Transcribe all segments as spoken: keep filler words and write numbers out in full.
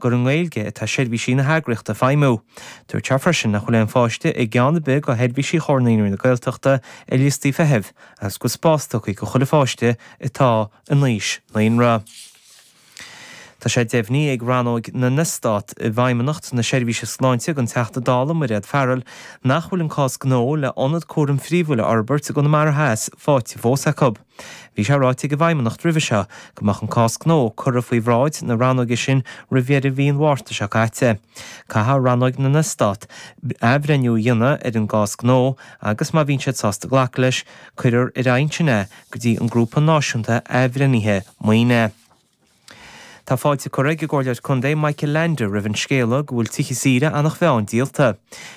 gur i nGaeilge atá seirbhísí na heagraíochta ag feidhmiú. Dúirt sé freisin nach bhfuil aon pháiste i gceann ar bith de sheirbhísí Chomhar Naíonraí na Gaeltachta ar liostaí feithimh agus go bhfuil spás tugtha do chuile pháiste atá in aois naíonra. Tá sé deimhnithe ag Rannóg na nEastát i bhFeidhmeannacht na Seirbhíse Sláinte don Teachta Dála Mairéad Farrell nach bhfuil an cás gnó le ionad cúraim phríomhúil a fhorbairt i gConamara Theas faighte fós acu. Bhí sé ráite ag an bhFeidhmeannacht roimhe seo go mbeadh an cás gnó curtha faoi bhráid na rannóige sin roimh dheireadh mhí an Mhárta seo caite. Caithfidh Rannóg na nEastát athbhreithniú a dhéanamh ar an gcás gnó agus má bhíonn siad sásta glacadh leis, cuirfear ar aghaidh ansin é go dtí an Grúpa Náisiúnta Athbhreithnithe Maoine. Tá fáilte curtha ag an gComhairleoir Contae Michael Leainde roimh an scéala go bhfuil tithe saoire Eanach Mheáin díolta.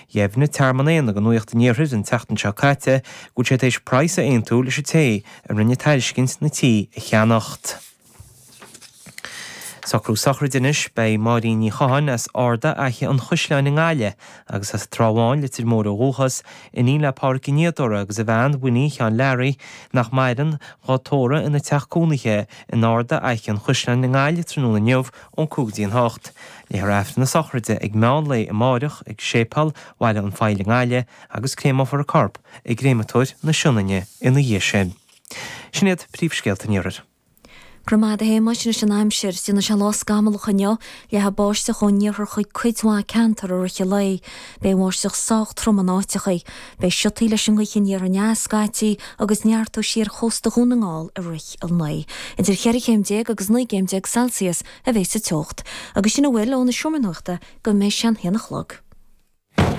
Dheimhnigh Tearmann Éanna do Nuacht an Iarthair an tseachtain seo caite go bhfuil sé tar éis praghas a aontú leis an té a rinne tairiscint na tí a cheannacht. Socrú sochraide anois, beidh Máirín Ní Chatháin as Ard Fhaiche an Chaisleáin i nGaillimh agus as an Trá Bháin, Leitir Móir ó dhúchas, iníon le Pádraig Ó Niadóra agus a bhean Winnie Sheáin Learaí, nach maireann, dhá tórramh ina teach cónaithe in Ard Fhaiche an Chaisleáin i nGaillimh tráthnóna inniu ón cúig go dtí an hocht. Léifear Aifreann na sochraide ag meán lae amáireach ag Séipéal Bhaile an Phoill i nGaillimh agus créamófar a corp i gCréamatóir na Sionainne ina dhiaidh sin. Sin iad príomhscéalta an Iarthair. Go raibh maith agat a Shéamais, anois an aimsir. Déanfaidh sé lá scamallach inniu, leathfaidh báisteach ón iarthar chuig cuid mhaith ceantar i rith an lae. Beidh an bháisteach sách trom in áiteachaí. Beidh siotaí leis an ngaoth aniar aneas scaití agus neartóidh sí ar chósta Dhún na nGall i rith an lae. Idir cheithre chéim déag agus naoi gcéim déag Celsius a bheidh sa teocht. Agus sin a bhfuil ón seomra nuachta go mbeidh sé an haon a chlog.